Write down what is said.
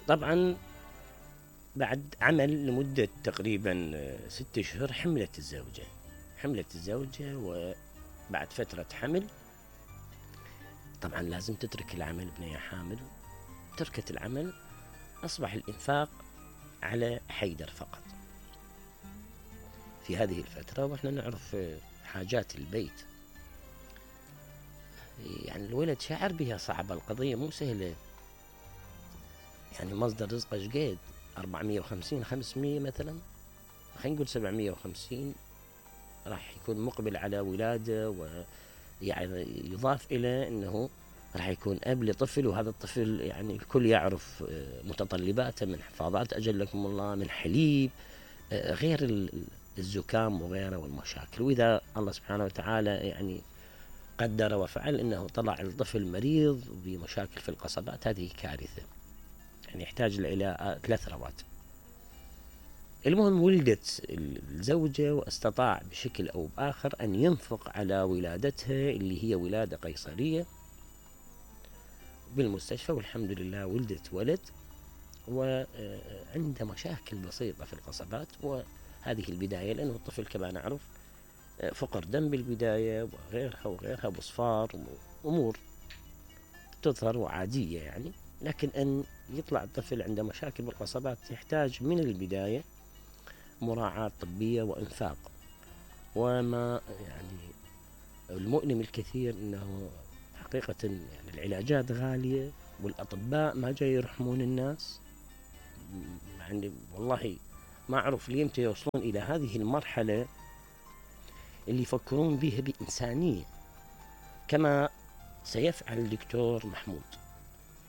طبعا بعد عمل لمدة تقريبا 6 اشهر حملت الزوجة، وبعد فترة حمل طبعا لازم تترك العمل بنية حامل. تركت العمل، أصبح الإنفاق على حيدر فقط في هذه الفترة. وإحنا نعرف حاجات البيت، يعني الولد شعر بها صعبة، القضية مو سهلة، يعني مصدر رزقه شقد 450 500 مثلا، خلينا نقول 750 راح يكون مقبل على ولادة، ويعني يضاف إلى أنه راح يكون أب لطفل، وهذا الطفل يعني الكل يعرف متطلباته من حفاظات أجلكم الله، من حليب، غير الزكام وغيره والمشاكل. وإذا الله سبحانه وتعالى يعني قدر وفعل أنه طلع الطفل مريض بمشاكل في القصبات، هذه كارثة، يعني يحتاج إلى 3 رواتب. المهم ولدت الزوجة، واستطاع بشكل أو بآخر أن ينفق على ولادتها اللي هي ولادة قيصرية بالمستشفى، والحمد لله ولدت ولد، وعنده مشاكل بسيطة في القصبات. وهذه البداية، لأنه الطفل كما نعرف فقر دم بالبداية، وغيرها بصفار، أمور تظهر وعادية يعني. لكن أن يطلع الطفل عنده مشاكل بالقصبات يحتاج من البداية مراعاة طبية وإنفاق. وما يعني المؤلم الكثير أنه حقيقة يعني العلاجات غالية، والأطباء ما جاي يرحمون الناس، يعني والله ما أعرف ليمتى يوصلون إلى هذه المرحلة اللي يفكرون بها بإنسانية كما سيفعل الدكتور محمود.